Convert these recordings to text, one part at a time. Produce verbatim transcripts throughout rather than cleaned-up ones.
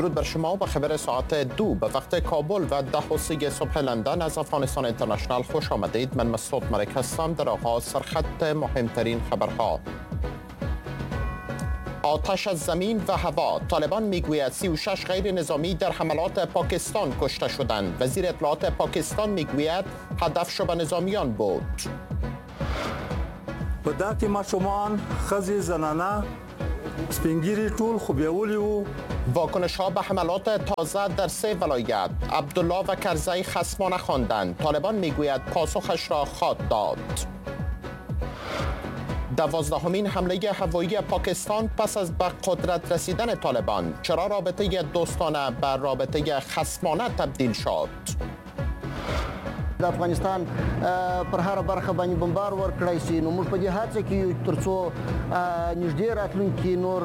درود بر شما با خبر ساعت دو به وقت کابل و ده و سی صبح لندن از افغانستان اینترنشنال خوش آمدید. من مسعود ملک هستم. در آغاز سرخط مهمترین خبرها. آتش از زمین و هوا. طالبان میگوید سی و شش غیر نظامی در حملات پاکستان کشته شدند. وزیر اطلاعات پاکستان میگوید هدف شبه نظامیان بود. په دا کې ماشومان، ښځې، زنانه، سپینګیري ټول خو بیولي وو. واکنش ها به حملات تازه در سه ولایت. عبدالله و کرزی خصمانه خواندند. طالبان میگوید پاسخش را خواد داد. دوازدهمین حمله هوایی پاکستان پس از به قدرت رسیدن طالبان. چرا رابطه دوستانه به رابطه خصمانه تبدیل شد؟ د افغانستان پر هر برخه باندې بمبار ورکړای شي، نو موږ په دې هڅه کې یو ترڅو نږدې راتلونکي نور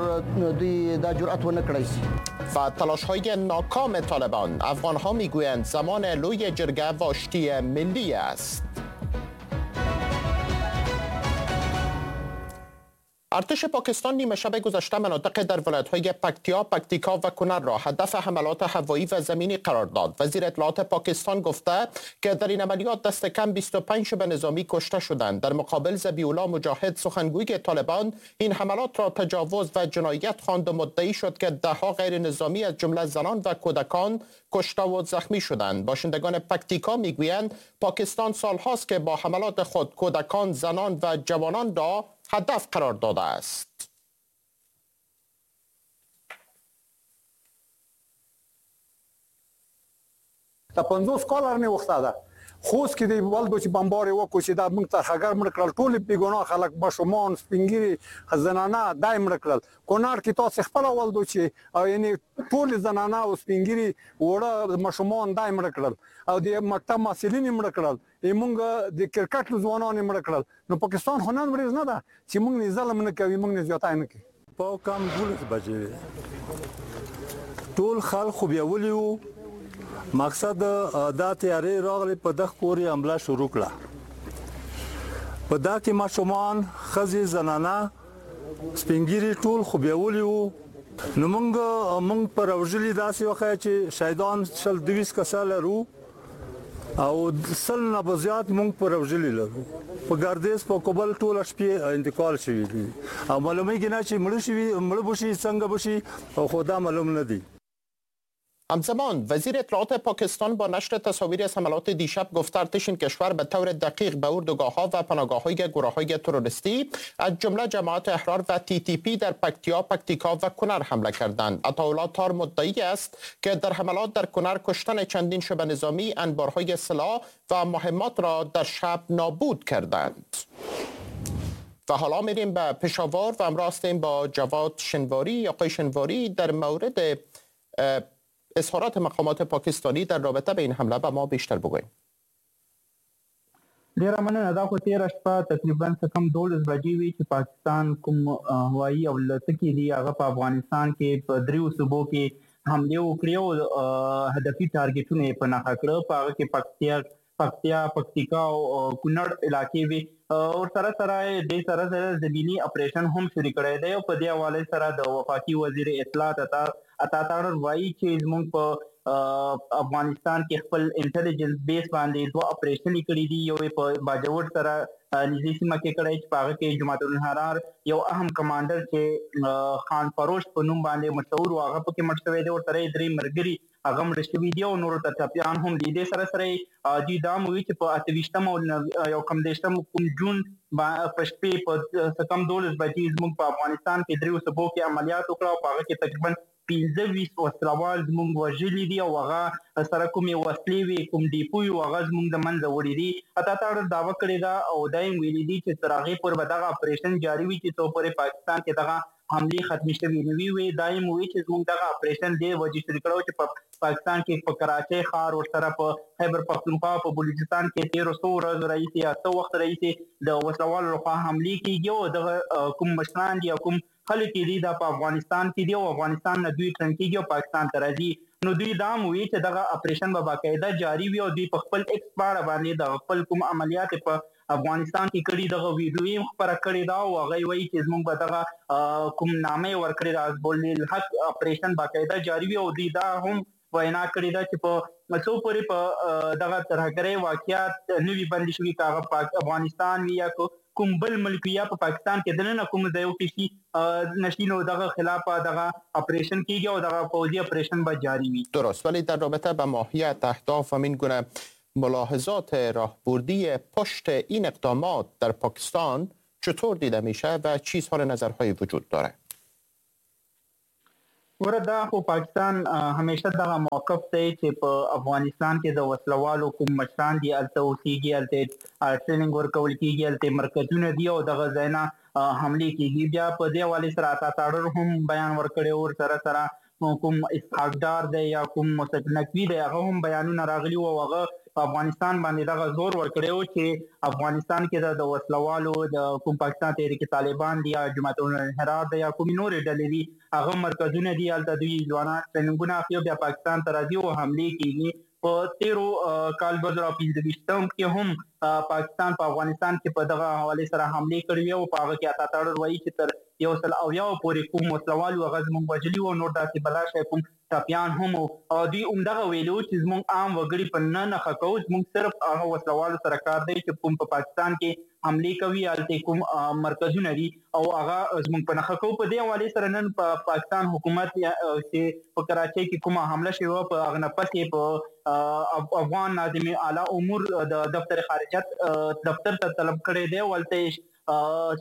دوی دا جرأت ونه کړای شي. و تلاش‌های ناکام طالبان. افغان‌ها میگویند زمان لوی جرگه و آشتی ملی است. ارتش پاکستان نیمه شب گذشته مناطق در ولایت‌های پکتیا، پکتیکا و کنر را هدف حملات هوایی و زمینی قرار داد. وزیر اطلاعات پاکستان گفته که در این عملیات دست کم بیست و پنج شبه نظامی کشته شدند. در مقابل ذبیح‌الله مجاهد سخنگوی طالبان این حملات را تجاوز و جنایت خواند و مدعی شد که ده‌ها غیر نظامی از جمله زنان و کودکان کشته و زخمی شدند. باشندگان پکتیکا میگویند پاکستان سالهاست که با حملات خود کودکان، زنان و جوانان را هدف قرار داده است. دا پنځوس کاله نه وخته ده. خوست کې دی ولدو چې بمبار وکړو چې دا موږ ترهګر مړ کړل، ټول بېګناه خلک، ماشومان، سپینګیري، زنانه دا یې مړه کړل. کونړ کې تاسو خپله ولدو چې یعنې ټول زنانه او سپینګیري وړه ماشومان دا یې مړه کړل، او د مکتب محصلین یې مړه کړل، موږ د کرکټ ځوانان یې مړه کړل. نو پاکستان خو نن ورځ نه ده چې موږ نه ظلم نه کوي، موږ نه زیاتی نه کوي. په کم دولس بجې ټول خلک خو بیولي وو. مقصد دا تیارې راغلې، په دغه پورې حمله شروع کړه. په دا کې ماشومان، ښځې، زنانه، سپینګیري ټول خو بیولي وو. نو موږ موږ پر وژلي داسې وښیه چې شهیدان شل دویست کسه لرو او سل نه به زیات موږ پر وژلي لرو. په ګردیز، په کابل ټوله شپې انتقال شوي دي او معلومیږي نه چې مړه شوي، مړه به شي، څنګه به شي، خو دا معلوم نه دي. همزمان وزیر اطلاعات پاکستان با نشر تصاویر از حملات دیشب گفت ارتش این کشور به طور دقیق به اردوگاه‌ها و پناهگاه‌های گروه‌های تروریستی از جمله جماعت احرار و تی تی پی در پکتیا، پکتیکا و کنر حمله کردند. عطاالله تار مدعی است که در حملات در کنر کشتن چندین شبه نظامی، انبارهای سلاح و مهمات را در شب نابود کردند. و حالا میریم به پشاور و همراه هستیم با جواد شنواری. آقای شنواری، در مورد اظهارات مقامات پاکستانی در رابطه به این حمله به ما بیشتر بگوییم. ډیره مننه. دا خو تیره شپه تقریبا څه کم دولس بجې وي چې پاکستان کوم هوایي الوتکې دي هغه په افغانستان کې په دریو صوبو کې حملې وکړې او هدفي ټارګټونه یې په نښه کړه. په هغه کې پکتیا، پکتیا، پکتیکا او کونړ علاقې وي. ورسره سره دې سره سره زمیني اپریشن هم شروع کړی دی. او په دې حواله سره د وفاقي وزیر اطلاعات عطا عطا تارړ وایي چې زموږ په افغانستان کې خپل انټلیجنس بیس باندې دوه اپریشن کړي دي. یو یې په باجوړ سره نږدې سیمه کې کړی چې په هغه کې جماعت الحرار یو اهم کمانډر چې خان فروش په نوم باندې مشهور و هغه پکې مړ شوی دی. ورسره یې درې ملګري هغه مړه شوي دي او نورو ته ټپیان هم دي. دې سره سره دوی دا هم وایي چې په اته ویشتم او یو کم دېرشم کوم جون په شپې په څه کم دولس بجې زموږ په افغانستان کې دریو صوبو کې عملیات وکړه او په هغه کې تقریبا پنځه ویشت وسلوال زموږ وژلي دي او هغه سره کومې وسلې وې، کوم ډیپو وي، هغه زموږ د منځه وړي دي. عطا تارړ دعوه کړې ده او دا یې ویلي دي چې تر هغې پورې به دغه اپریشن جاري وي چې څو پورې پاکستان کې دغه حملې ختمې شوې نه وي. وي دا یې وویل چې زموږ دغه اپریشن دې وجې شروع کړو چې په پاکستان کې په کراچۍ ښار ورسره په خیبر پښتونخوا په بلوچستان کې تېرو څو ورځو راهیسې یا څه وخت راهیسې د وسلوالو لخوا حملې کېږي او دغه کوم مشران دي او کوم خلک دي دا په افغانستان کې دي او افغانستان نه دوی ټرن کېږي او پاکستان ته راځي. نو دوی دا هم وویل چې دغه اپریشن به باقاعده جاري وي او دوی په خپل ایکس پاڼه باندې د خپل کوم عملیات په افغانستان کې کړي دغه ویډیو یې هم خپره کړې ده او هغه وایي چې زموږ به دغه کوم نامه یې ورکړې ده حزب الحق اپریشن باقاعده جاري وي. او دوی دا هم وینا کړې ده چې په څو پورې په دغه ترهګرۍ واقعیات نه وي بندې شوي، که هغه افغانستان وي یا کوم بل ملک وي یا په پاکستان کې دننه کوم ځای کې شي نشي، نو دغه خلاف دغه اپریشن کیږي او دغه پوځي اپریشن به جاری وي. درست. ولی در رابطه به ماهیت اهداف و این گونه ملاحظات راهبردی پشت این اقدامات در پاکستان چطور دیده میشه و چی اظهار نظرهایی وجود داره؟ ګوره دا خو پاکستان همیشه دغه موقف دی چې په افغانستان کې د وسلوالو کوم مشران دي هلته اوسېږي، هلته ټریننګ ورکول کېږي، هلته مرکزونه دي او دغه ځای نه حملې کېږي. بیا په دې حوالې سره عطا تارړ هم بیان ورکړی، ورسره سره کوم اسحاق ډار دی یا کوم محسن نقوي دی هغه هم بیانونه راغلي وو او هغه په افغانستان باندې دغه زور ورکړی و چې افغانستان کې د وسلوالو د کوم پاکستان تحریک طالبان دي یا جماعت الانحراف دی یا کومې نورې ډلې دي هغه مرکزونه دي، هلته دوی ځوانان ټریننګونه اخلي او بیا پاکستان ته راځي او حملې کېږي. په تیرو کال دوه زره پنځه ویشتم کې هم پاکستان په افغانستان کې په دغه حوالې سره حملې کړې وې او په هغه کې عطا تارړ وایي چې تر یو سل اویاو پورې کوم وسلوال وو هغه زموږ وژلي وو، نور داسې بلا شی کوم ټپیان هم وو. او دوی همدغه ویلي وو چې زموږ عام وګړي په نه نښه کوو، زموږ صرف هغه وسلوالو سره کار دی چې کوم په پاکستان کې حملې کوي، هلته کوم مرکزونه دي او هغه زموږ په نښه کوو. په دې حوالې سره نن په پاکستان حکومت چې په کراچۍ کې کومه حمله شوې وه په هغه نه پس یې په افغان ناظم اعلی امور د دفتر خارجت دفتر ته طلب کړی دی او هلته یې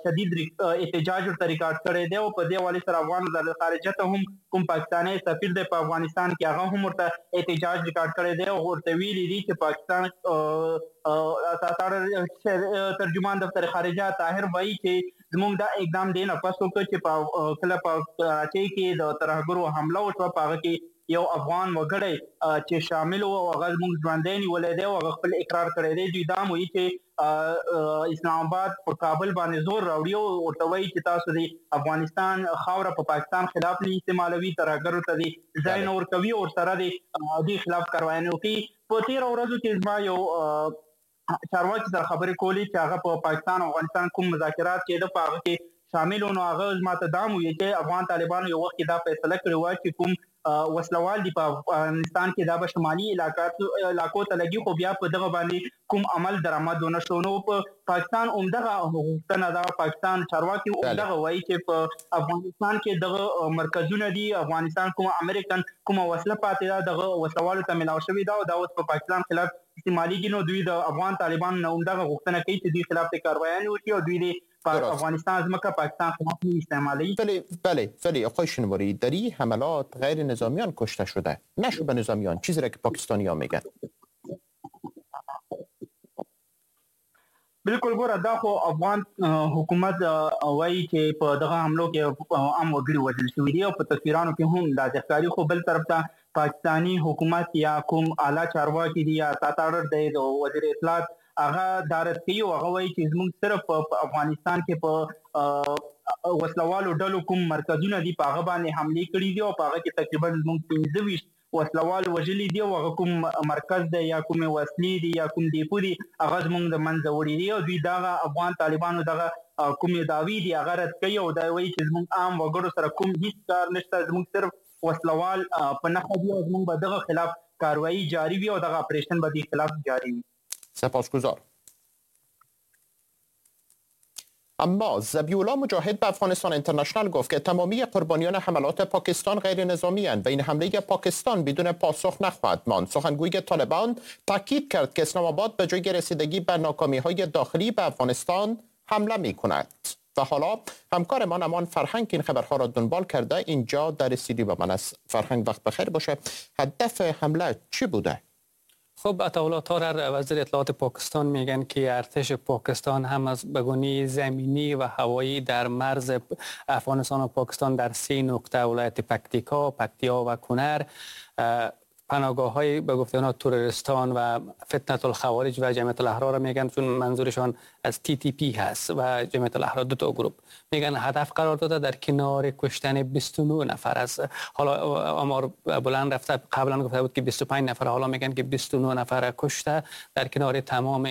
شدید احتجاج ورته ریکارډ کړی دی. او په دې حوالې سره افغان وزارت خارجه ته هم کوم پاکستاني سفیر دی په افغانستان کې هغه هم ورته احتجاج ریکارډ کړی دی او ورته ویلي دي چې پاکستان ترجمان دفتر خارجه طاهر وایي چې زموږ دا اقدام دی نه پس وکړ چې په کله په کراچۍ کې د ترهګرو حمله وشوه په هغه کې یو افغان وګړی چې شامل و او هغه زموږ ژوندی نیولی دی او هغه خپل اقرار کړی دی. دوی دا هم وایي چې اسلام آباد په کابل باندې زور راوړي او ورته وایي چې تاسو د افغانستان خاوره په پاکستان خلاف نه استعمالوي، ترهګرو ته دې ځای نه ورکوي او ورسره دې دوی خلاف کاروايانې وکړي. په تېرو ورځو کې زما یو چارواکي سره خبرې کولې چې هغه په پاکستان او افغانستان کوم مذاکرات کېده په هغه کې شامل و، نو هغه زما ته دا هم وویل چې افغان طالبانو یو وخت کې دا فیصله کړې وه چې کوم وسلوال دي په افغانستان کې دا به شمالي علاقو ته لګي، خو بیا په دغه باندې کوم عمل درآمد ونه شو. نو په پاکستان همدغه غوښتنه ده، پاکستان چارواکي همدغه وایي چې په افغانستان کې دغه مرکزونه دي، افغانستان کومه امریکن کومه وسله پاتې ده دغه وسلوالو ته ملاو شوې ده او دا اوس په پاکستان خلاف استعمالېږي. نو دوی د افغان طالبانو نه همدغه غوښتنه کوي چې دوی خلاف دې کاروايانې وکړي او دوی دې افغانستان ځمکه پاکستان خلاف نه استعمالوي. بله بله ولی آقای شینواری در این حملات غیر نظامیان کشته شده، نه شبه نظامیان، چیزی را که پاکستانی ها میگن. بالکل ګوره دا خو افغان حکومت وایي چې په دغه حملو کې عام وګړي وژل شوي دي او په تصویرانو کې هم داسې ښکاري، خو بل طرف ته پاکستاني حکومت یا کوم اعلی چارواکي دي یا عطا تارړ دی د وزیر اطلاعات هغه دا رد کوي او هغه وایي چې زموږ صرف په افغانستان کې په وسلوالو ډلو کوم مرکزونه دي په هغه باندې حملې کړي دي او په هغه کې تقریبا زموږ پنځه ویشت وسلوال وژلي دي او هغه کوم مرکز دی یا کومې وسلې دي یا کوم ډیپو دي هغه زموږ د منځه وړي دي. او دوی دغه افغان طالبانو دغه کومې دعوې دي هغه رد کوي او دا وایي چې زموږ عام وګړو سره کوم هیڅ کار نشته، زموږ صرف وسلوال په نښه دي او زموږ به دغه خلاف کاروایی جاری وي او دغه اپریشن به دې خلاف جاری وي. سپاسگزار. اما ذبیح الله مجاهد به افغانستان اینترنشنال گفت که تمامی قربانیان حملات پاکستان غیر نظامی اند و این حمله پاکستان بدون پاسخ نخواهد ماند. سخنگوی طالبان تاکید کرد که اسلام آباد به جای رسیدگی به ناکامی‌های داخلی به افغانستان حمله می‌کند. و حالا همکارمان امان فرهنگ این خبرها را دنبال کرده اینجا در استودیو با من است. فرهنگ وقت بخیر باشه. هدف حمله چی بوده؟ خب عطاالله تارر وزیر اطلاعات پاکستان میگن که ارتش پاکستان هم از بگونی زمینی و هوایی در مرز افغانستان و پاکستان در سه نقطه ولایت پکتیکا، پکتیا و کنر پناهگاه‌های به گفته آنها تروریستان و فتنه الخوارج و جمعیت الاحرار میگن، چون منظورشان از تی تی پی هست و جمعیت الاحرار، دو تا گروه میگن هدف قرار داده در کنار کشتن بیست و نه نفر از، حالا آمار بلند رفته، قبلا گفته بود که بیست و پنج نفر، حالا میگن که بیست و نه نفر کشته در کنار تمام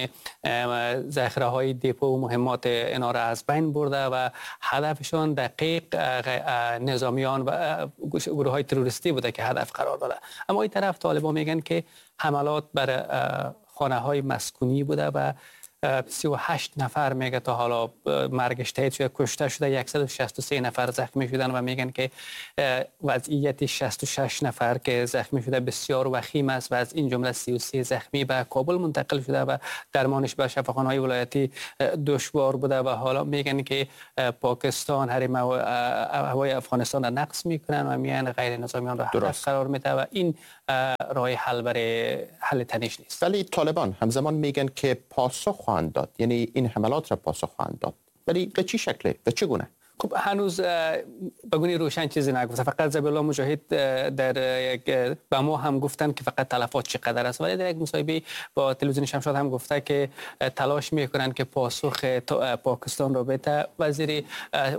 ذخیره های دپو و مهمات اینا را از بین برده و هدفشان دقیق نظامیان و گروه های تروریستی بوده که هدف قرار داده. اما این طرف طالبان میگن که حملات بر خانه های مسکونی بوده و سی و هشت نفر میگه تا حالا مرگش تایید شده، کشته شده، صد و شصت و سه نفر زخمی شدن و میگن که وضعیت شصت و شش نفر که زخمی شده بسیار وخیم است و از این جمله سی و سه زخمی به کابل منتقل شده و درمانش به شفاخانه‌های ولایتی دشوار بوده و حالا میگن که پاکستان حریم هوای افغانستان را نقض میکنن و میان غیر نظامیان را هدف قرار میده و این راه حل برای حل تنش نیست. ولی طالبان همزمان میگن که پاسخ خواهند داد، یعنی این حملات را پاسخ خواهند داد، ولی به چه شکلی و چگونه؟ خب هنوز به گونه روشن چیزی نگفته، فقط ذبیح الله مجاهد در یک به ما هم گفتن که فقط تلفات چقدر است، ولی در یک مصاحبه با تلویزیون شمشاد هم گفته که تلاش میکنن که پاسخ پاکستان را بده. وزیر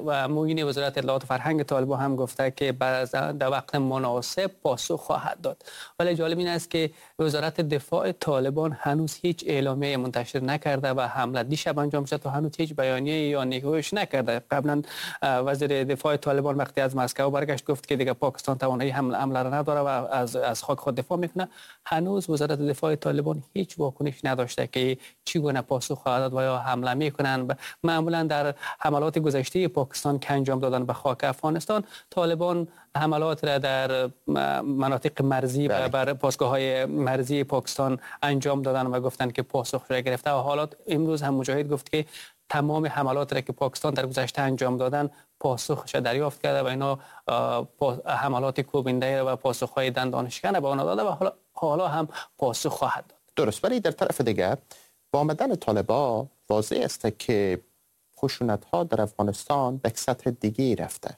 و معین وزارت اطلاعات و فرهنگ طالبان هم گفته که در وقت مناسب پاسخ خواهد داد. ولی جالب این است که وزارت دفاع طالبان هنوز هیچ اعلامیه منتشر نکرده و حمله دیشب انجام شد و هنوز هیچ بیانیه یا نگاهش نکرده. قبلا وزیر دفاع طالبان وقتی از مسکو برگشت گفت که دیگه پاکستان توانایی حمله حمله را نداره و از از خاک خود دفاع میکنه. هنوز وزارت دفاع طالبان هیچ واکنش نداشته که چگونه پاسخ خواهد داد و یا حمله میکنن. معمولا در حملات گذشته پاکستان که انجام دادن به خاک افغانستان، طالبان حملات را در مناطق مرزی بله. بر پاسگاه‌های مرزی پاکستان انجام دادن و گفتن که پاسخ را گرفته و حالا امروز هم مجاهد گفت که تمام حملات را که پاکستان در گذشته انجام دادن پاسخش دریافت کرده و اینا حملات کوبنده و پاسخ‌های دندانشکن به آنها داده و حالا حالا هم پاسخ خواهد داد. درست. ولی در طرف دیگر با آمدن طالبان واضح است که خشونت‌ها در افغانستان به سطح دیگه رفته.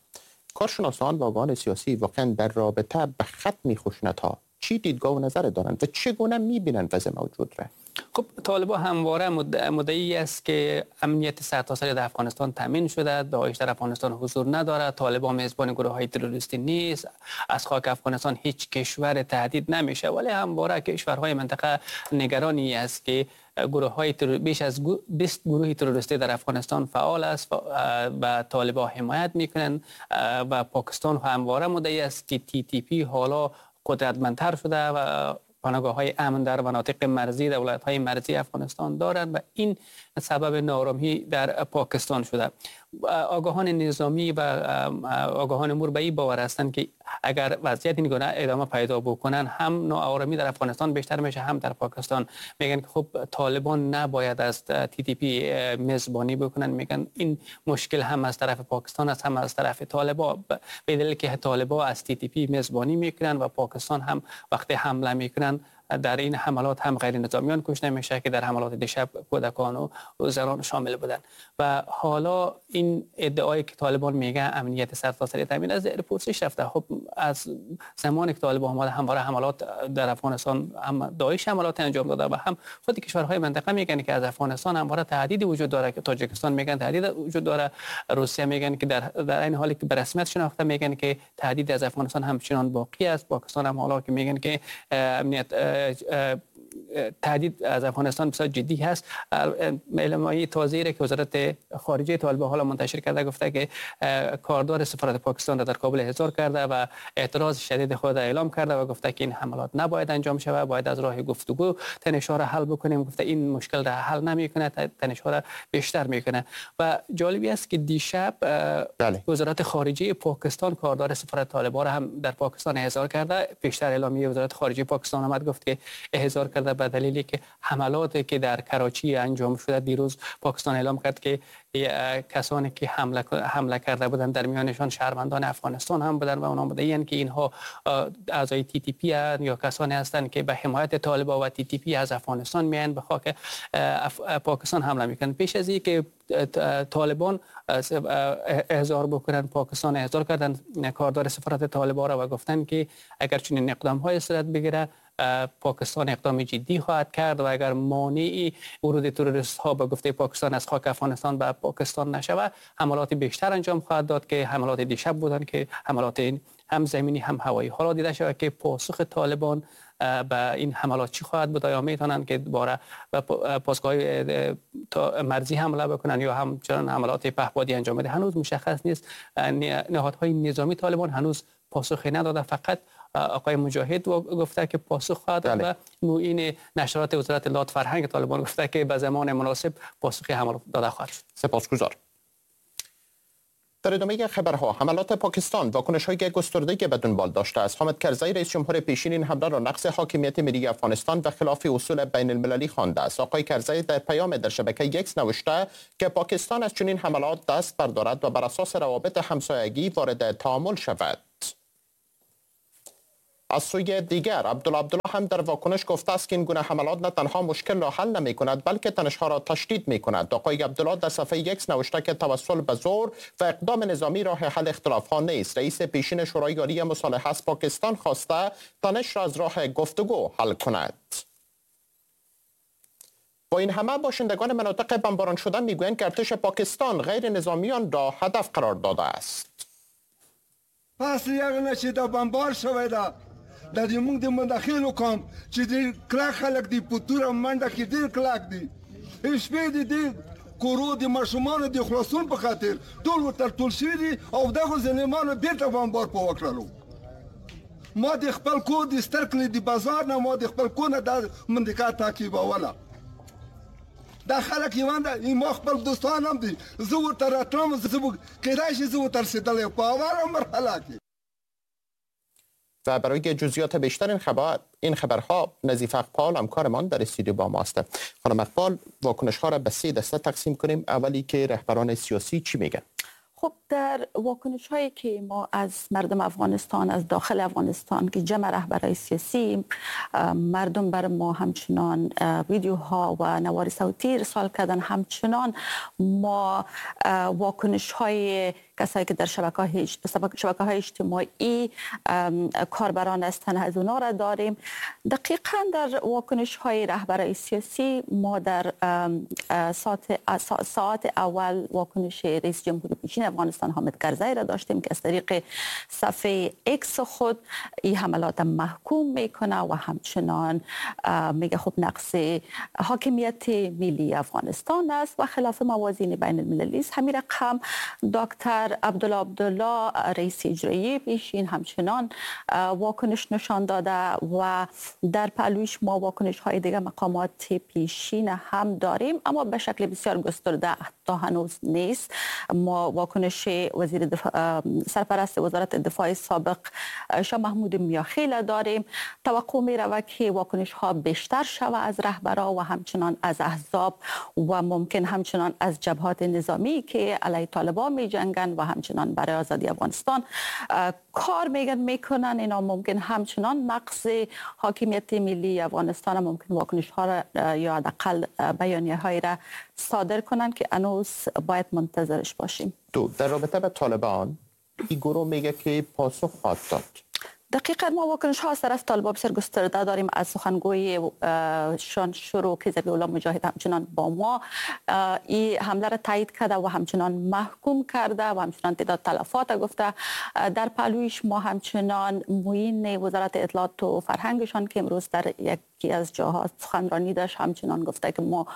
کارشناسان و آگاهان سیاسی واقعا در رابطه به ختم خشونت‌ها چی دیدگاه و نظر دارند و چگونه می‌بینند وضع موجود را؟ خب طالبان همواره مدعی است که امنیت سرتاسری در افغانستان تامین شده، داعش در افغانستان حضور ندارد، طالبان میزبان گروه‌های تروریستی نیست، از خاک افغانستان هیچ کشور تهدید نمیشه. ولی همواره کشورهای منطقه نگرانی است که گروه‌های ترور... بیش از بیست گروه تروریستی در افغانستان فعال است و طالبان حمایت میکنند و پاکستان همواره مدعی است که تی تی پی حالا قدرتمندتر شده و پناهگاه‌های امن در مناطق مرزی در ولایت‌های مرزی افغانستان دارند و این سبب ناآرامی در پاکستان شده. آگاهان نظامی و آگاهان امور به این باور هستند که اگر وضعیت این گونه ادامه پیدا بکنن هم ناآرامی در افغانستان بیشتر میشه هم در پاکستان. میگن که خب طالبان نباید از تی تی پی میزبانی بکنن، میگن این مشکل هم از طرف پاکستان است هم از طرف طالبان، به دلیل که طالبان از تی تی پی میزبانی میکنن و پاکستان هم وقتی حمله میکنن در این حملات هم غیر نظامیان کشته میشه که در حملات دیشب کودکان و زنان شامل بودن. و حالا این ادعایی که طالبان میگه امنیت سرتاسری تامین از زیر پرسش رفته. خب از زمانی که طالبان آمده همواره حملات در افغانستان هم داعش حملات انجام داده و هم خود کشورهای منطقه میگن که از افغانستان همواره تهدید وجود داره، که تاجیکستان میگن تهدید وجود داره، روسیه میگن که در در این حالی که به رسمیت شناخته میگن که تهدید از افغانستان همچنان باقی است. پاکستان هم حالا که میگن که امنیت تهدید از افغانستان بسیار جدی هست. اعلامیه تازه‌ای که وزارت خارجه طالبان حالا منتشر کرده گفته که کاردار سفارت پاکستان را در کابل احضار کرده و اعتراض شدید خود را اعلام کرده و گفته که این حملات نباید انجام شود، باید از راه گفتگو تنش‌ها را حل بکنیم. گفته این مشکل را حل نمی‌کنه، تنش‌ها را بیشتر می‌کنه. و جالبی است که دیشب بله. وزارت خارجه پاکستان کاردار سفارت طالبان را هم در پاکستان احضار کرده. بیشتر اعلامیه وزارت خارجه پاکستان آمد گفت که احضار کرده به دلیلی که حملاتی که در کراچی انجام شده دیروز پاکستان اعلام کرد که کسانی که حمله حمله کرده بودند در میانشان شهروندان افغانستان هم بودند و آنها مدعی‌اند که اینها اعضای تی تی پی یا کسانی هستند که به حمایت طالبان و تی تی پی از افغانستان میان به خاک پاکستان حمله میکنند. پیش از اینکه طالبان احضار بکنن پاکستان احضار کردن کاردار سفارت طالبان را و گفتن که اگر چنین اقدام های صورت بگیره پاکستان اقدام جدی خواهد کرد و اگر مانعی ورود تروریست ها به گفته پاکستان از خاک افغانستان به پاکستان نشود، حملات بیشتر انجام خواهد داد که حملات دیشب بودند که حملات هم زمینی هم هوایی. حالا دیده شود که پاسخ طالبان به این حملات چی خواهد بود، آیا میتونن که دوباره به پاسگاه مرزی حمله بکنن یا همچنان حملات پهپادی انجام بده، هنوز مشخص نیست. نهادهای نظامی طالبان هنوز پاسخی نداده، فقط آقای مجاهد گفته که پاسخ خواهد داد و معین نشرات وزارت اطلاعات فرهنگ طالبان گفته که به زمان مناسب پاسخ حملات داده خواهد شد. سپاسگزارم. در ادامه خبرها، حملات پاکستان واکنش‌های گسترده‌ای به دنبال داشته است. حامد کرزی رئیس جمهور پیشین این حمله را نقض حاکمیت ملی افغانستان و خلاف اصول بین المللی خوانده است. آقای کرزی در پیام در شبکه ایکس نوشته که پاکستان از چنین حملات دست بردارد و بر اساس روابط همسایگی وارد تعامل شود. از سوی دیگر، عبدالله عبدالله هم در واکنش گفته است که این گونه حملات نه تنها مشکل را حل نمی کند بلکه تنش‌ها را تشدید می کند. آقای عبدالله در صفحه ایکس نوشته که توسل به زور و اقدام نظامی راه حل اختلاف ها نیست. رئیس پیشین شورای عالی مصالحه از پاکستان خواسته تنش را از راه گفتگو حل کند. با این همه، باشندگان مناطق بمباران شده میگویند که ارتش پاکستان غیر نظامیان را هدف قرار داده است. پس یغنه چې دا بمبار شوی ده، دا د موږ د منداخېلو قوم چې ډېر کلک خلک دي، په توره منډه کې ډېر کلک دي، شپې د دې کورو د ماشومانو د خلاصون په خاطر ټول ورته ټول شوي دي او دغو ظلمانو بېرته بمبار په وکړلو. ما د خپل کور د ستر کلي د بازار نه، ما د خپل کور نه دا منطقه تعقیبوله. دا خلک یوان ده، ما خپل دوستان هم دي، زه ورته راتلم، زه کېدای شي زه ورته رسېدلی په اوله مرحله کې. و برای جزئیات بیشتر این خبر این خبرها نظیف اقبال همکارمان در استودیو با ما است. خانم اقبال، واکنش ها را به سه دسته تقسیم کنیم. اولی که رهبران سیاسی چی میگن؟ خب در واکنش هایی که ما از مردم افغانستان، از داخل افغانستان که جمع رهبرای سیاسی، مردم بر ما همچنان ویدیوها و نوار صوتی ارسال کردن، همچنان ما واکنش های کسایی که در شبکه‌های شبکه‌های اجتماعی کاربران هستند از اونا را داریم. دقیقاً در واکنش‌های رهبرای سیاسی ما در ساعت ساعت اول واکنش رئیس جمهور پیشین افغانستان حامد کرزی را داشتیم که از طریق صفحه ایکس خود این حملات محکوم میکنه و همچنان میگه خب نقص حاکمیت ملی افغانستان است و خلاف موازین بین المللی است. همین رقم دکتر عبدالله عبدالله رئیس اجرایی پیشین همچنان واکنش نشان داده و در پهلویش ما واکنش های دیگه مقامات پیشین هم داریم، اما به شکل بسیار گسترده تا هنوز نیست. ما واکنش وزیر دفاع، سرپرست وزارت دفاع سابق شاه محمود میاخیل داریم. توقع می رود که واکنش ها بیشتر شود از رهبرا و همچنان از احزاب و ممکن همچنان از جبهات نظامی که علیه طالبان می جنگن و همچنان برای آزادی افغانستان کار میگن میکنن. اینا ممکن همچنان نقض حاکمیت ملی افغانستان ممکن واکنش ها را یا حداقل بیانیه های را صادر کنن که هنوز باید منتظرش باشیم. دو، در رابطه با طالبان این گروه میگه که پاسخ خواهد داد. دقیقاً ما واکنش ها از طرف طالبان بسیار گسترده داریم، از سخنگوی شان شروع که ذبیح الله مجاهد همچنان با ما این حمله را تایید کرده و همچنان محکوم کرده و همچنان تعداد تلفات گفته. در پهلویش ما همچنان معین وزارت اطلاعات و فرهنگشان که امروز در یکی از جاها سخنرانی داشت همچنان گفته که ما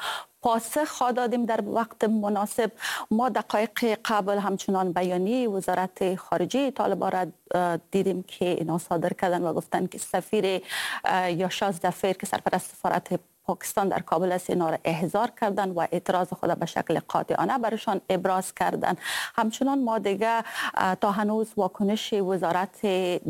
پاسخ دادیم در وقت مناسب. ما دقایق قبل همچنان بیانیه وزارت خارجه طالبان را دیدیم که اینا صادر کردن و گفتن که سفیر یاشاز ظفر که سرپرست سفارت پاکستان در کابل است اینا را احضار کردن و اعتراض خود به شکل قاطعانه برشان ابراز کردن. همچنان ما دیگه تا هنوز واکنش وزارت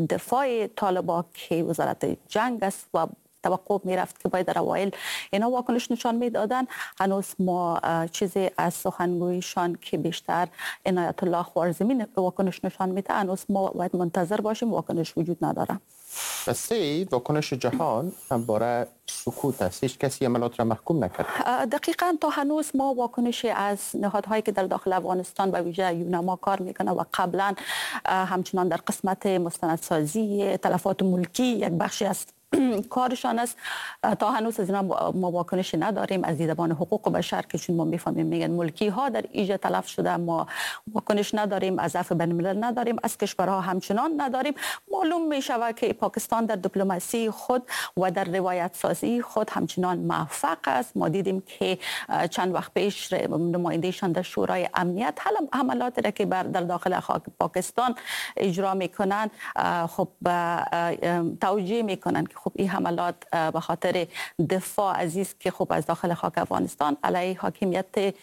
دفاع طالبان که وزارت جنگ است و توقع میرفت که باید در اوایل اینا واکنش نشان میدادن، هنوز ما چیزی از سخنگویشان که بیشتر عنایت الله خوارزمی واکنش نشان میده هنوز ما باید منتظر باشیم، واکنش وجود نداره. و سه، واکنش جهان همواره سکوت است، هیچ کسی عملات را محکوم نکرد. دقیقاً تا هنوز ما واکنش از نهادهایی که در داخل افغانستان به ویژه یوناما کار میکنه و قبلا همچنان در قسمت مستندسازی تلفات ملکی یک بخشی از کارشان است. تا هنوز از اینا ما واکنش نداریم، از دیدبان حقوق بشر که چون ما میفهمیم میگن ملکی ها در ایجا تلف شده، ما واکنش نداریم، از عفو بین الملل نداریم، از کشورها همچنان نداریم. معلوم می شود که پاکستان در دیپلماسی خود و در روایت سازی خود همچنان موفق است. ما دیدیم که چند وقت پیش نمایندهشان در شورای امنیت حملات را که در داخل خاک پاکستان اجرا میکنن خب توجیه میکنن که خب این حملات به خاطر دفاع عزیز که خب از داخل خاک افغانستان علیه حاکمیت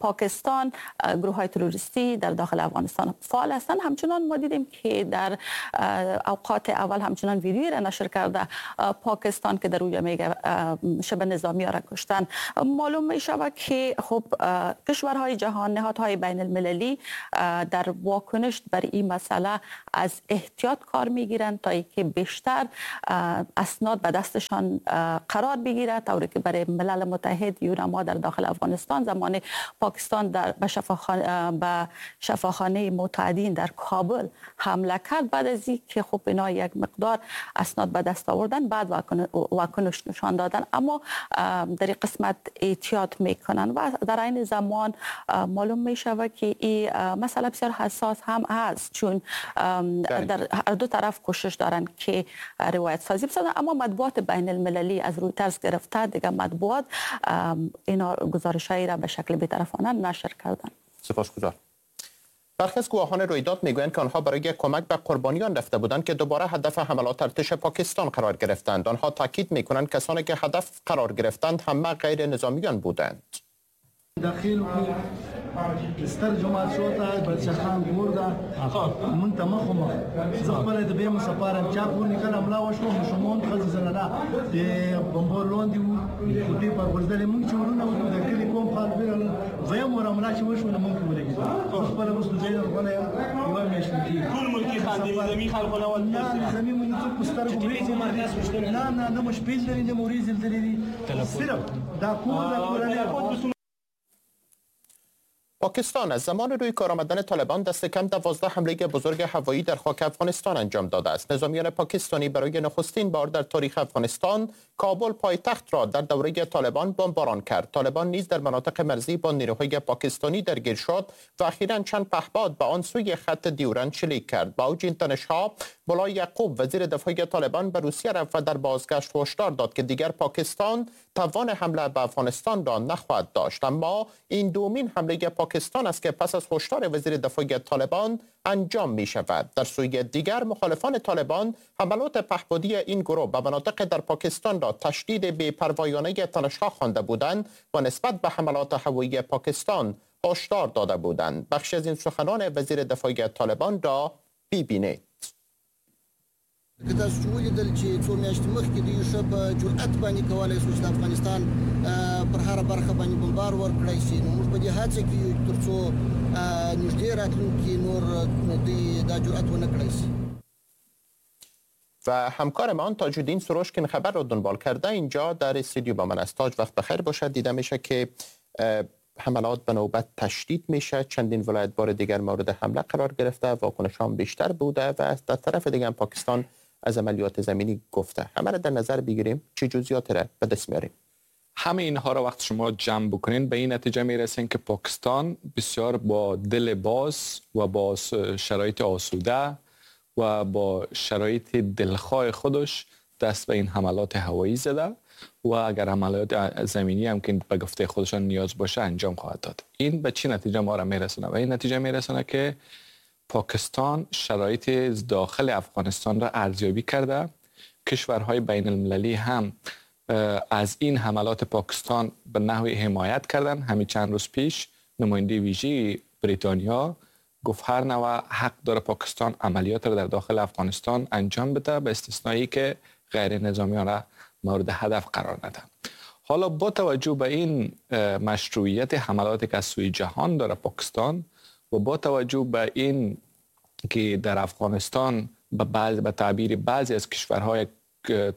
پاکستان گروه های تروریستی در داخل افغانستان فعال هستند. همچنان ما دیدیم که در اوقات اول همچنان ویدیویی را نشر کرده پاکستان که در اونجا میگه شبه نظامی ها را کشتن. معلوم می شود که خب کشورهای جهان، نهادهای بین المللی در واکنش بر این مسئله از احتیاط کار میگیرند تا اینکه بیشتر اسناد به دستشان قرار بگیره، طوری که برای ملل متحد یوناما در داخل افغانستان زمان پاکستان در به شفاخانه به شفاخانه متعدین در کابل حمله کرد، بعد از اینکه خب اینا یک مقدار اسناد به دست آوردن بعد واکنش نشان دادن، اما در این قسمت احتیاط میکنن و در این زمان معلوم میشود که این مسئله بسیار حساس هم هست، چون در هر دو طرف کوشش دارن که روایت سازی بسازن، اما مطبوعات بین المللی از رویترز گرفته دیگه مطبوعات اینا گزارش‌هایی را به شکل بی‌طرفانه نشر کردن. سپاسگزارم. برخی از گواهان رویداد میگویند که آنها برای کمک به قربانیان رفته بودند که دوباره هدف حملات ارتش پاکستان قرار گرفتند. آنها تاکید میکنند کسانی که هدف قرار گرفتند همه غیر نظامیان بودند. داخل ستر جماعت شو ته بلچخان ګور ده مونږ ته مخ مخ زه خپله د بیم سفارم چا پورې کله حمله وشوه ماشومان ښځې زنانه د بمبار لاندې وو کوټې پر غورځېدلې مونږ چې ورونه وو د کلي کوم خلک ویرل دویم ور حمله چې وشوه نو مونږ ولګېدو زه خپله وروسته ځای راغلی یم یوه میاشت کېږي. ټول ملکي خان دي نظامي خلکو نه ول؟ نه نظامي مونږ څوک په سترګو نه نه نه مو شپې لیدلې نه مو ورېځې لیدلې دي صرف دا کور دا کورنۍ. پاکستان از زمان روی کار آمدن طالبان دست کم دوازده حمله بزرگ هوایی در خاک افغانستان انجام داده است. نظامیان پاکستانی برای نخستین بار در تاریخ افغانستان کابل پایتخت را در دوره طالبان بمباران کرد. طالبان نیز در مناطق مرزی با نیروهای پاکستانی درگیر شد و اخیراً چند پهپاد به آن سوی خط دیورند شلیک کرد. با اوج این تنش‌ها ملا یعقوب وزیر دفاع طالبان به روسیه رفت و در بازگشت هشدار داد که دیگر پاکستان توان حمله به افغانستان را نخواهد داشت. اما این دومین حمله پاکستان است که پس از هشدار وزیر دفاع طالبان انجام می شود. در سوی دیگر مخالفان طالبان حملات پهپادی این گروه به مناطق در پاکستان را تشدید بی‌پروایانه تنش‌ها خوانده بودند و نسبت به حملات هوایی پاکستان هشدار داده بودند. بخشی از این سخنان وزیر دفاع طالبان را ببینید. که تاسو چې ولیدل چې څو میاشتې مخکې دوی ښه په جرأت باندې کولی شو چې د افغانستان پر هره برخه باندې بمبار ورکړای شي، نو موږ په دې هڅه کې یو تر څو نږدې راتلونکي نور دوی دا جرأت ونه کړای شي. و همکارمان تاج‌الدین سروش که این خبر رو دنبال کرده اینجا در استودیو با من است. تاج وقت بخیر باشد. دیده میشه که حملات به نوبت تشدید میشه، چندین ولایت بار دیگر مورد حمله قرار گرفته، واکنش هم بیشتر بوده و در طرف دیگر پاکستان از عملیات زمینی گفته. همه را در نظر بگیریم چه جزئیات را به دست میاریم؟ همه اینها را وقت شما جمع بکنین به این نتیجه میرسین که پاکستان بسیار با دل باز و با شرایط آسوده و با شرایط دلخواه خودش دست به این حملات هوایی زده و اگر عملیات زمینی هم که به گفته خودشان نیاز باشه انجام خواهد داد. این به چه نتیجه ما را میرسونه؟ و این نتیجه میرسونه که پاکستان شرایط داخل افغانستان را ارزیابی کرده، کشورهای بین المللی هم از این حملات پاکستان به نحوی حمایت کردن. همین چند روز پیش نماینده ویژه بریتانیا گفت هر نوع حق داره پاکستان عملیات را در داخل افغانستان انجام بده، به استثنایی که غیر نظامیان را مورد هدف قرار نده. حالا با توجه به این مشروعیت حملاتی که از سوی جهان داره پاکستان و با توجه به این که در افغانستان به بعض به تعبیر بعضی از کشورهای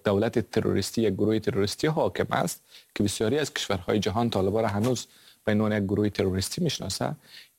دولت تروریستی یک گروه تروریستی حاکم است که بسیاری از کشورهای جهان طالبان را هنوز به عنوان یک گروه تروریستی میشناسه،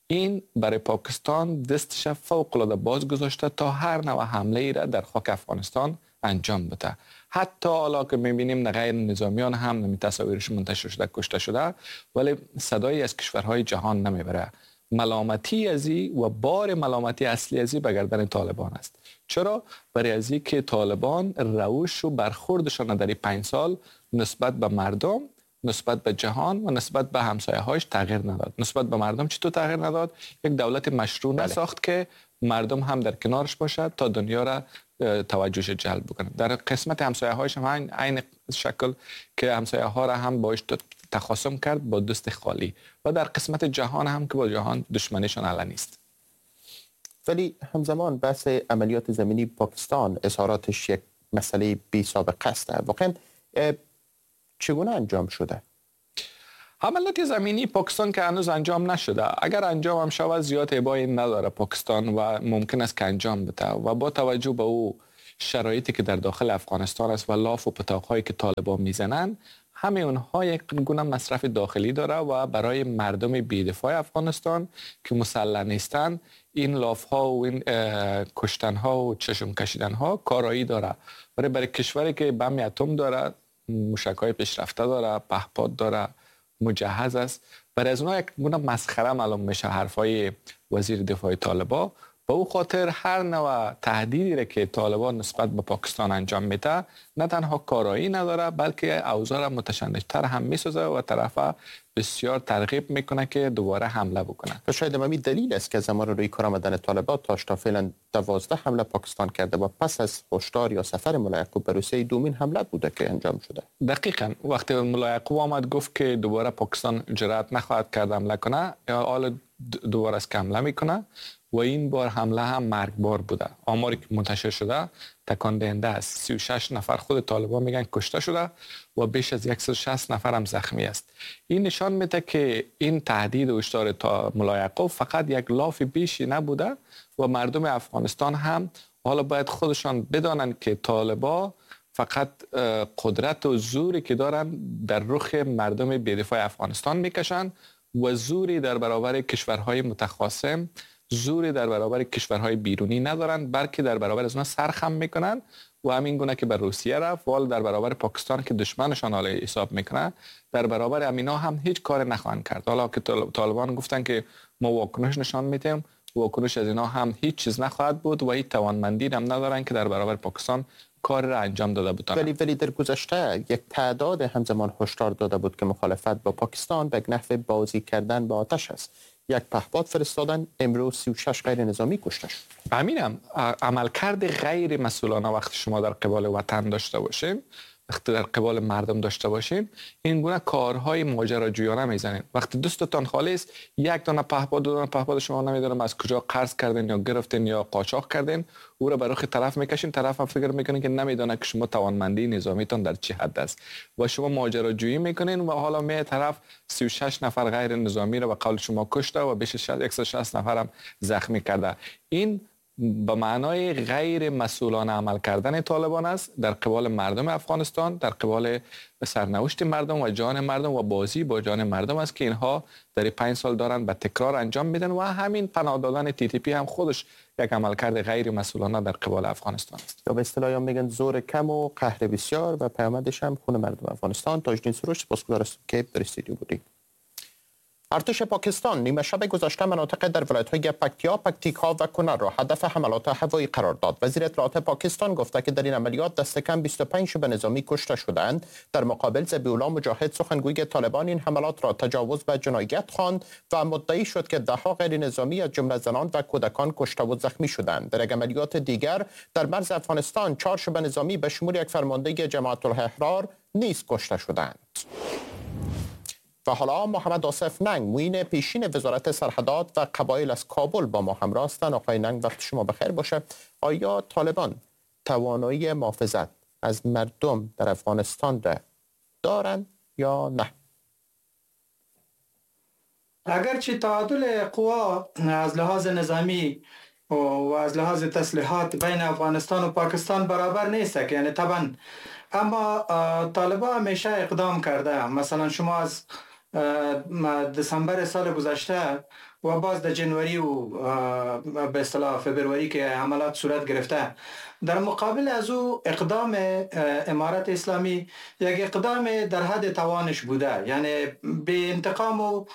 این برای پاکستان دستش فوق العاده باز گذاشته تا هر نوع حمله ای را در خاک افغانستان انجام بده. حتی حالا که میبینیم غیر نظامیان هم نمی تصاویرش منتشر شده کشته شده، ولی صدایی از کشورهای جهان نمیبره. ملامتی ازی و بار ملامتی اصلی ازی به گردن طالبان است. چرا؟ برای ازی که طالبان روش و برخوردشان در پنج سال نسبت به مردم، نسبت به جهان و نسبت به همسایه هایش تغییر نداد. نسبت به مردم چطور تغییر نداد؟ یک دولت مشروع نساخت که مردم هم در کنارش باشد تا دنیا را توجهش جلب بکنه. در قسمت همسایه هایش هم عین شکل که همسایه ها را هم باش تخاصم کرد با دست خالی، و در قسمت جهان هم که با جهان دشمنیشان علنی است. ولی همزمان بحث عملیات زمینی پاکستان اظهاراتش یک مسئله بی سابقه است. واقعا چگونه انجام شده؟ حملات زمینی پاکستان که هنوز انجام نشده، اگر انجام هم شود زیاد ابایی نداره پاکستان و ممکن است که انجام بده. و با توجه به او شرایطی که در داخل افغانستان است و لاف و پتاق‌هایی که طالبان میزنن، همه اونها یک گونه مصرف داخلی داره و برای مردم بی‌دفاع افغانستان که مسلح نیستن این لاف ها و این کشتن ها و چشم کشیدن ها کارایی داره. برای برای کشوری که بم اتم داره، موشک های پیشرفته داره، پهپاد داره، مجهز است، برای از اونها یک گونه مسخره معلوم میشه حرفای وزیر دفاع طالبا. به او خاطر هر نوع تهدیدی را که طالبان نسبت به پاکستان انجام میده نه تنها کارایی نداره بلکه اوضاع را متشنج‌تر هم میسازه و طرف بسیار ترغیب میکنه که دوباره حمله بکنه. و شاید همین دلیل است که زمان روی کار آمدن طالبان تا فعلا دوازده حمله پاکستان کرده و پس از هشدار یا سفر ملا یعقوب به روسیه دومین حمله بوده که انجام شده. دقیقاً وقتی ملا یعقوب آمد گفت که دوباره پاکستان جرأت نخواهد کرد حمله کنه، حالا دوباره است که حمله میکنه و این بار حمله هم مرگبار بوده. آماری که منتشر شده تکان دهنده است. سی و شش نفر خود طالبان میگن کشته شده و بیش از صد و شصت نفر هم زخمی است. این نشان میده که این تهدید و هشدار تا ملا یعقوب فقط یک لاف بیشی نبوده و مردم افغانستان هم حالا باید خودشان بدانند که طالبان فقط قدرت و زوری که دارن در رخ مردم بی‌دفاع افغانستان میکشن و زوری در برابر کشورهای متخاصم، زوری در برابر کشورهای بیرونی ندارند، بلکه در برابر از اونها سرخم میکنن و همین گونه که بر روسیه رفت وال در برابر پاکستان که دشمنشان حالا حساب میکنه، در برابر امینا هم هیچ کار نخواهند کرد. حالا که طالبان گفتن که ما واکنش نشان میدیم، واکنش از اینا هم هیچ چیز نخواهد بود و هیچ توانمندی هم ندارن که در برابر پاکستان کار را انجام داده بودند. ولی ولی در گذشته یک تعداد همزمان هشدار داده بود که مخالفت با پاکستان به نحو بازی کردن با آتش است. یک پهپاد فرستادن، امروز سی و شش غیر نظامی کشته شد. همینم عملکرد غیر مسئولانه وقتی شما در قبال وطن داشته باشین، وقتی در قبال مردم داشته باشین، این گونه کارهای ماجراجویانه میزنین. وقتی دوستتان خالی است، یک دانه پهپاد، دو دانه پهپاد شما نمیدونم از کجا قرض کردین یا گرفتین یا قاچاق کردین، او را به رخ طرف میکشین، طرف هم فکر میکنه که نمیدونه که شما توانمندی نظامیتان در چه حد است و شما ماجراجویی میکنین و حالا می طرف سی و شش نفر غیر نظامی را به قول شما کشته و بیش از صد و شصت نفر هم زخمی کرده. این به معنای غیر مسئولانه عمل کردن طالبان است در قبال مردم افغانستان، در قبال سرنوشت مردم و جان مردم و بازی با جان مردم است که اینها در پنج سال دارن به تکرار انجام میدن و همین پناه دادن تی تی پی هم خودش یک عملکرد غیر مسئولانه در قبال افغانستان است. یا به اصطلاح میگن زور کم و قهر بسیار و پیامدش هم خون مردم افغانستان. تاجدین سروش، سپاسگزار هستم که در استودیو بودید. ارتش پاکستان نیمه شب گذشته مناطق در ولایت‌های پکتیا، پکتیکا و کنر را هدف حملات هوایی قرار داد. وزیر اطلاعات پاکستان گفته که در این عملیات دست کم بیست و پنج شبه نظامی کشته شدند. در مقابل ذبیح‌الله مجاهد سخنگوی طالبان این حملات را تجاوز به جنایت خواند و مدعی شد که ده‌ها غیر نظامی از جمله زنان و کودکان کشته و زخمی شدند. در عملیات دیگر در مرز افغانستان چهار شبه نظامی به شمول یک فرمانده جماعت الاحرار نیز کشته شدند. و حالا محمد آصف ننگ، معین پیشین وزارت سرحدات و قبایل از کابل با ما همراه هستند. آقای ننگ وقت شما بخیر باشه. آیا طالبان توانایی محافظت از مردم در افغانستان را دارند یا نه؟ اگرچه تعادل قوا از لحاظ نظامی و از لحاظ تسلیحات بین افغانستان و پاکستان برابر نیست، یعنی طبعا، اما طالبان همیشه اقدام کرده. مثلا شما از دسامبر سال گذشته و باز در جنوری و به اصطلاح فبروری که حملات صورت گرفته، در مقابل از او اقدام امارت اسلامی یک اقدام در حد توانش بوده، یعنی به انتقام و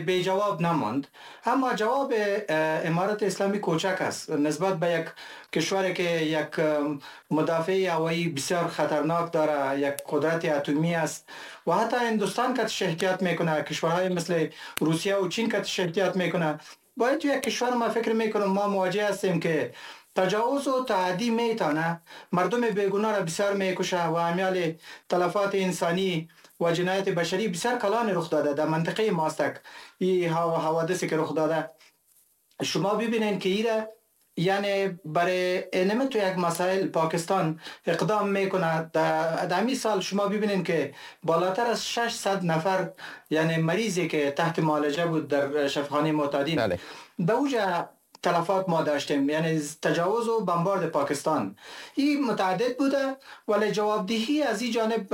به جواب نماند. اما جواب امارت اسلامی کوچک است نسبت به یک کشوری که یک مدافع هوایی بسیار خطرناک داره، یک قدرت اتمی است و حتی هندوستان که احتیاط میکنه، کشورهای مثل روسیه و چین که احتیاط میکنه. باید یک کشور ما فکر میکنم ما مواجه هستیم که تجاوز و تعدی میتونه مردم بیگناه را بسیار میکشه و امیال تلفات انسانی و جنایت بشری بسیار کلان رخ داده در منطقه ماستک. این حوادثی که رخ داده شما ببینین که ایره یعنی برای انمه تو یک مسائل پاکستان اقدام میکنه. در همی سال شما ببینین که بالاتر از ششصد نفر یعنی مریضی که تحت معالجه بود در شفاخانه معتادین، بله. به اوجه تلفات ما داشتیم، یعنی تجاوز و بمبارد پاکستان این متعدد بوده، ولی جوابدهی از این جانب